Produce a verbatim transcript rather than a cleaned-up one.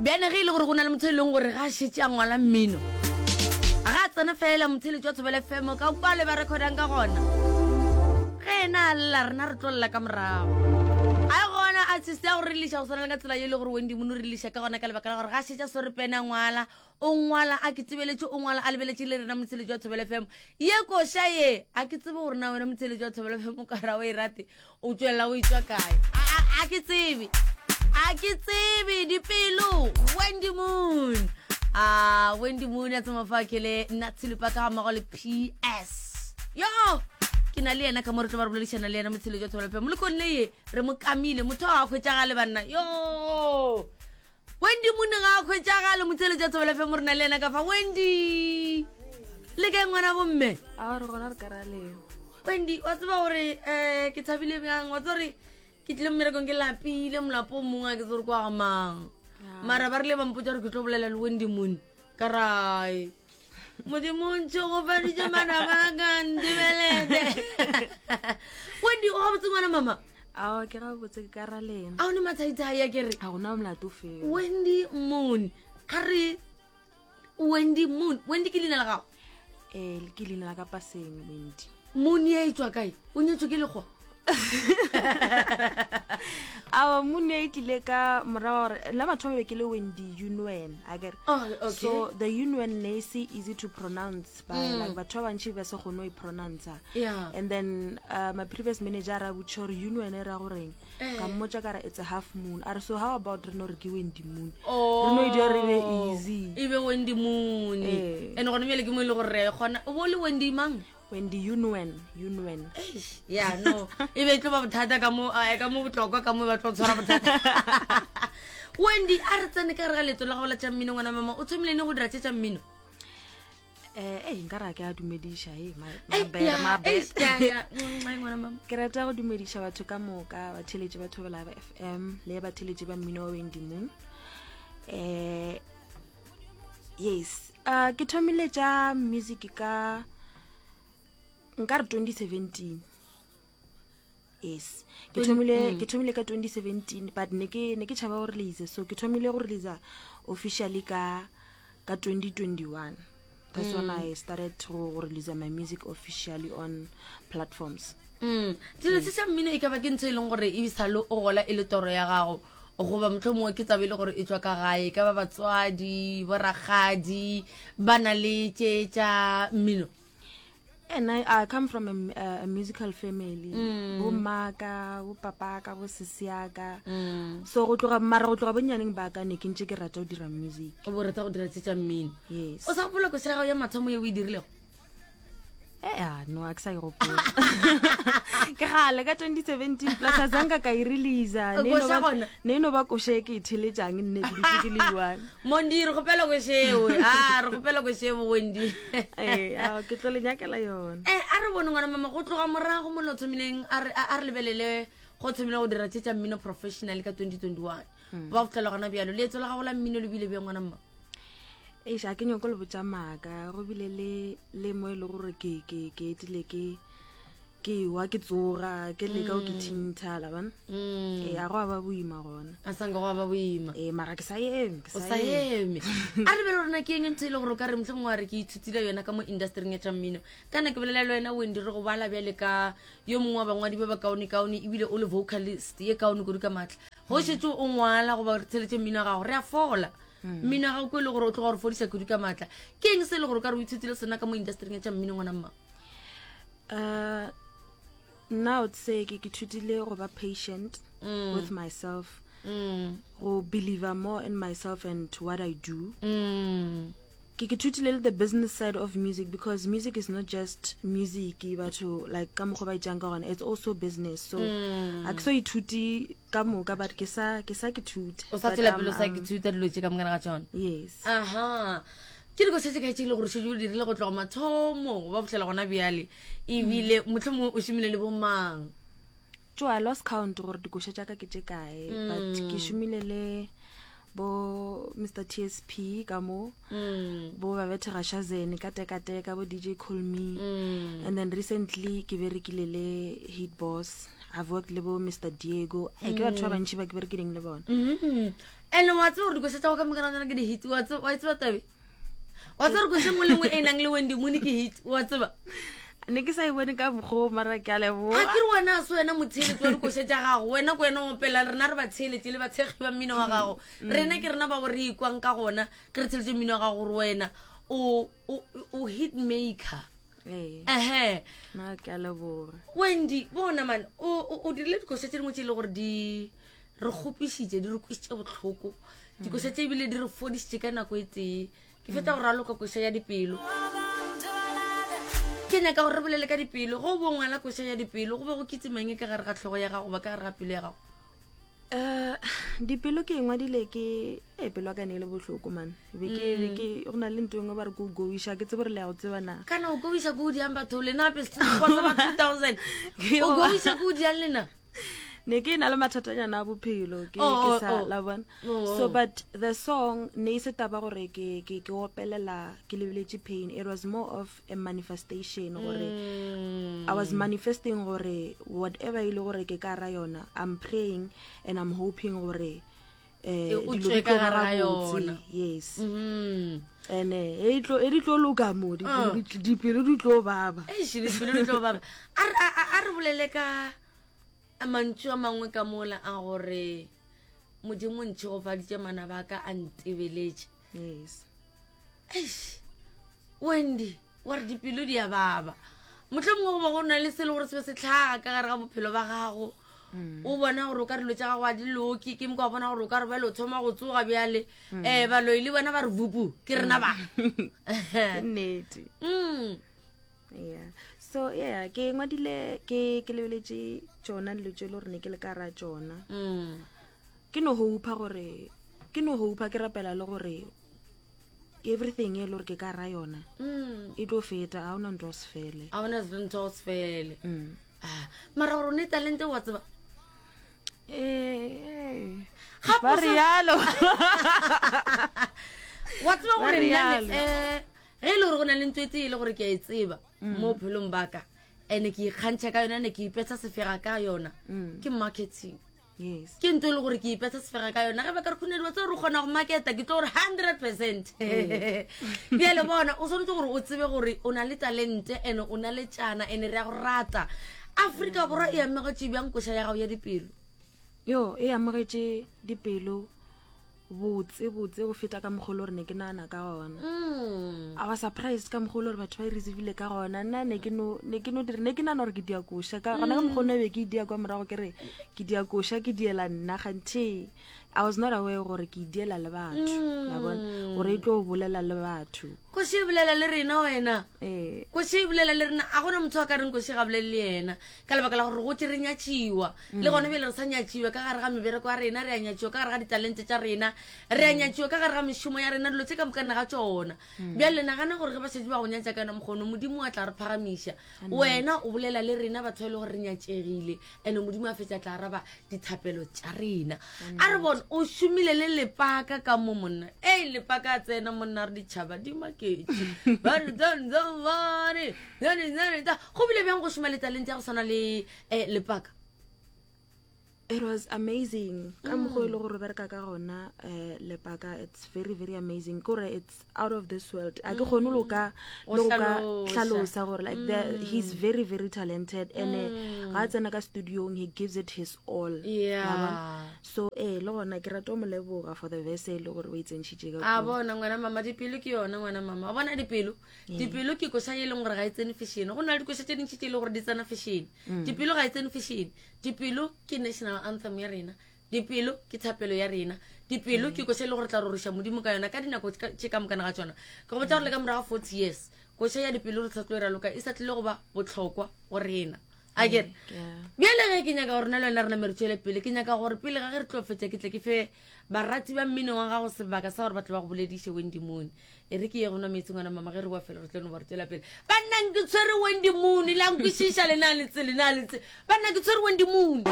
Bjane ge e le gore go na le motho e leng gore ga a šetše a ngwala mmino, ga a tsena fela motheletši wa Thobela F M ka kwa le ba recordang ka gona, ge ena a lla, rena re tlo lla ka morago. A gona artist ya go re lliša go swana le ka tsela ye e le gore Wendy Moon o re lliša ka gona, ka lebaka la gore ga a šetše a swere pene a ngwala, o ngwala a ke tsebeletše, o ngwala a lebeletše le rena motheletši wa Thobela F M. Ye koša ye a ke tsebe gore na wena motheletši wa Thobela F M o ka ra o e rate, o tswelela o e tswa kae. A- a a ke tsebe, a ke tsebe dipelo. Wendy Moon, a Wendy Moon a tsema fa kele nna tshelupa ka ga mmogo le P S yo ke na le yena ka mo re tlo ba re boledišana le yena motheletši wa Thobela F M. Molekong le ye re mo kamile, motho a hwetšagale banna. Yo, Wendy Moon ga a hwetšagale. Motheletši wa Thobela F M, re na le yena ka fa. Wendy, le kae ngwana bomme? A re gona, re ka ra leo. Wendy, wa tseba gore um ke thabile bjang? Wa tseba gore ke tlile mmerekong ke lapile, molapo o mongwe a ke tse gore kwa ga mang, mara ba rile ba mpotsa gore ke tlo bolela le Wendy Moon, ka rae Modimo ntšhe go faditše manaba ka ntebelete. Wendy, o gabotse ngwana mama? Ao, ke ga botse, ke ka ra lena. A o ne mathaithai a kere? Ga gona molato fela. Wendy Moon, a re Wendy Moon. Wendy ke leina la gago? um ke leina la ka paseng, Wendy. Moon ye e tswa kae? O nyetswe ke lekgowa? Ao, Moon e tlile ka morago gore la mathomo be ke le Wendy Unwen, a kere? Oh, okay. So the Unwen ne e se easy to pronounce by mm. like batho ba bantši ba se kgone go e pronouncer. Yeah. And then uh, my previous manager a ra botša gore Unwen e ra goreng. Eh. Ka mmotša ka re it's a half moon. A re, so how about re no re ke Wendy Moon? Oh. Re no e dira re be easy. E be Wendy Moon. Eh. And gone bjale ke mo e le gore re kgona o bo le Wendy mang? Wendy Unwen, Unwen. Eish, ya no e be e tlo ba bothata ka mo eh, ka mo botlokwa ka mo ba tlo tshwara bothata. Wendy, a re tsene ka re ga leeto la gago la tša mmino. Ngwana mama, o thomile ne go dira tše tša mmino? eh eh nka ra ke a dumediša e. Eh, ya, eish, ya, ya. Mm, ai, ngwana mama. Ke rata go dumediša batho ka moka, batheletši ba Thobela ba F M le batheletši ba mmino wa Wendy Moon. um yes uh, ke thomile tša music ka nka re twenty seventeen. Yes, ke thomile ke thomile ka twenty seventeen, but ne ke ne ke tšhaba go release, so ke thomile go release officially ka ka twenty twenty-one. That's when I started to go release my music officially on platforms. Mm. Dilo se sa mmino e ka ba ke ntho e leng gore e sale o gola e le toro ya gago, goba motlho mongwe ke taba e le gore e tswa ka gae, ka ba batswadi, borakgadi ba na le tše tša mmino? And I, I come from a, a, a musical family mm. Bo mmaka, bo papaka, bo sesiaka mm. So go tloga, mara go tloga bonnyaneng ba ka ne ke ntse ke rata go dira music. O bo rata go dira tše tša mmino? Yes. O sa gopola koša ya gago ya mathomo ye o e dirilego? Ea, no, a ke sa e gopola, ke gale ka twenty seventeen, plus a zanka ka e releasa. Ne e no Koša ba- gona? Ne e no ba koša e ke e theletšang nne ke dutse ke le one. Mondi, re kgopela košewe, a re kgopela košewe, Wendy. Ee, ao, ke tlo le nyakela yona. Eh, a re bone ngwana mama, go tloga morago mo le o thomileng, a re a re lebelele go thomile go dira tše tša mmino professional ka twenty twenty-one ba go fitlhela gona bjalo, leetso la gago la mmino le bile bjang, ngwana mma? Eish, a ke nyako le botša maaka, go bile le le mo e le gore ke ke ke etile ke ke wa ke tsoga ke leka go ke thintha la bona. Ee, a go a ba boima gona. A sanka go ba boima. Ee, mara ke sa eme, ke O sa eme. A re bele rona ke eng ntho e le gore o ka re motlho mongwe wa re ke ithutile yona ka mo industryng ya tša mmino? Kana ke bolela le wena Wendy, re go bala bjale ka yo mongwe wa bangwadi ba ba kaone-kaone, ebile o le vocalist ye kaone kudu ka maatla. Go šetse o ngwala goba re theletše mmino wa gago, re a fola. Mmino wa gago ko e le gore o tloga gore fodisa kudu ka maatla. Ke eng se e le gore o ka re o ithutile sona ka mo industryng ya tša mmino, ngwana mma? uh nna I would say ke ke thutile go ba patient with myself, mm. go believe more in myself and what I do. Mm. Ke ke thutile le the business side of music, because music is not just music batho like ka mokgwa ba itsang ka gona, it's also business. So a ke so ithuti ka moka, but ke sa ke sa ke thuta. O sa tswela pele o sa ke thuta dilo tše ka mokana ga tsona. Yes. Aha, ke diko se se kae tše e le gore šetse o dirile go tloga mathomo ba fitlhela gona bjale, ebile motlho mongwe o šomile le bomang? Jo, I lost count gore dikoša tša ka ke tše kae, but ke šomile le bo Mister T S P ka mo, Mm. bo Babethe Gashazene ka Tekateka, bo D J Call Me, Mm. and then recently ke berekile le Hit Boss I've worked le bo Mr Diego. Eh, ke batho ba bantši ba ke berekileng le bona. Mm. And wa tseba gore dikoša tša go ka moka tsona ke di-hit wa tseba wa e tseba tabe wa tseba gore koša nngwe le nngwe e nang le Wendy Moon ke hit wa tseba Ne ke sa e bone ka mokgwa o, mara ke a a leboga. ke re wena a se wena motheeletši wa dikoša tša gago wena ke wena o opela rena re batheeletši le bathekgi ba mmino wa gago rena ke rena ba go re ikwang ka gona ge re theeletše mmino wa gago gore wena o o- o hit maker Ee, ehe mara ke a leboga. Wendy bona man o o- o dirile dikoša tše dingwe tše e le gore di re kgopišitše di re kwisitše bohloko dikoša tše ebile di re fodišitše ka nako e tee ke fetsa go raloka koša ya dipelo ke nyaka gore re bolele ka dipelo go bo ngwala koša ya dipelo go be go kitsemang ka gare ga tlhogo ya gago ba ka gare ga pelo ya gago Eh, dipelo ke engwadile ke e pelo ya ka ne e le bohloko man be ke be ke go na le ntho e nngwe ba re ke o goiša ke tsebe gore le ya go tseba na kana o goiša ko o diang batho lena gape sa ba two thousand o goiša ko o diang lena ne ke na le mathatanyana a bophelo ke Oh, ke oh, sa oh. la bona Oh, so oh. but the song ne e se taba gore ke ke ke opelela ke lebeletše pain it was more of a manifestation gore Mm. I was manifesting gore whatever e le gore ke ka ra yona I'm praying and I'm hoping gore eh E, o dilo tswe di ka tlo ba gare ga gabotse. yona. yes Mm. and eh e tlo e di tlo loka mo dipelo Ah. di tl- dipelo di tlo baba Eish, dipelo di tlo baba a re- a- a- a re bolele ka mantšu a mangwe ka mola a gore modimo ntšhegofaditše manaba a ka a ntebeletše yes eish Wendy wa re dipelo di a baba motlho mongwe go ba go na le se le gore se be se tlhaga ka gare ga bophelo ba gago o bona gore o ka dilo tša gago a di loke ke moko wa bona gore o ka re bjale o thoma go tsoga bjale um baloi le bona ba re vupu ke rena ba ke nnete Mm. yeah so yeah ke ngwadile ke ke lebeletše tšona dilo tše e le gore ne ke le ka ra tšona Mm. ke no hopa gore ke no hopa ke rapela le gore everything e le gore ke ka ra yona Mm. e tlo feta ga ona ntho se fele a bona ntho go se fele Mm. Ah, mara gore o ne talente wa tseba Eh, eh. Gape ba o sa- rialo wa tseba Ba gore nna rialo. um ge e le gore go na le ntho e tee e le gore ke a e tseba mo bophelong baka and-e ke ikgantšha ka yona and ke ipetsa sefega ka yona Mm. ke marketing yes ke ntho e le gore ke ipetsa sefega ka yona ge ba ka re khunedi wa tseba re kgona go marketa ke tlo gore hundred percent bjale bona o tshwanetse gore o tsebe gore o na le talente and o na le tšana and re ya go rata aforika borwa e amegetše bjang koša ya gago ya dipelo yo e amogetše dipelo botse botse go feta ka mokgwa o le gore ne ke nagana ka gona Mm. I was surprised ka mokgwa o le gore batho ba e receivile ka gona nna ne ke no ne ke no dire ne ke nagana gore ke dia koša ka gona ka mokgwa o ne be ke e dia kwa morago ke re ke dia koša ke diela nna ganthe i was not aware gore ke e diela le batho la bona gore e tlo bolela le batho koši e bolela le rena wena ee koši e bolela le rena a gona motho a ka reng koši ga bolele le yena ka lebaka la gore go tse re nyatšiwa le gona bjale re sa nyatšiwa ka gare ga mebereko ya rena re a nyatšiwa ka gare ga ditalente tša rena re a nyatšiwa ka gare ga mešomo ya rena dilo tse ka mokana ga tšona bjale nagana gore ge ba šetse ba go nyatša ka yona mokgono modimo a tla re phagamiša wena o bolela le rena batho ba e le gore re nyatšegile and modimo a fetša tla araba dithapelo tša rena a re bone o šomile le lepaka ka mo monna ei lepaka a tsena monna re ditšhaba di maketše Ba re, "Dun, dun, bane, dun, dun, dun." go bile bjang go šoma le talente ya go tshwana le um lepaka it was amazing ka mokgwa e le gore o bereka ka gona um lepaka it's very very amazing ke gore it's out of this world a ke kgone le go ka Go le go ka hlalosa. hlalosa gore like the, he's very very talented and eh, ga a tsena ka studiong he gives it his all Yeah. Wa bona? so ee le gona ke rata o mo leboga for the verse e le gore o e tsentšhitše ka a kua. bona ngwana mama dipelo ke yona ngwana mama wa bona dipelo dipelo ke koša ye e leng gore ga e tsene fashion go na le dikoša tše dintši tše e leng gore di tsena fashion dipelo ga e tsene fashion dipelo ke national anthem ya rena dipelo ke thapelo ya rena dipelo ke koša e le gore tla roriša modimo ka yona ka dinako tše ka- tše ka mokana ga tsona ke go botsa gore le ka morago ga forty years koša ya dipelo re sa tlo e raloka e sa tlile go ba botlhokwa go rena a kere Yeah. bjale ge ke nyaka gore na le wena re name re tšwele pele ke nyaka gore pele ga ge re tlo fetša ke tle ke fe barati ba mmino wa gago sebaka sa gore ba tle ba go bolediše Wendy Moon e re ke ye go nwa metsi ngwana mama ge re boa fela re tlo no ba re tswela pele banna ke tshwere Wendy Moon la nkwešiša lena letse lena letse banna ke tshwere Wendy Moon.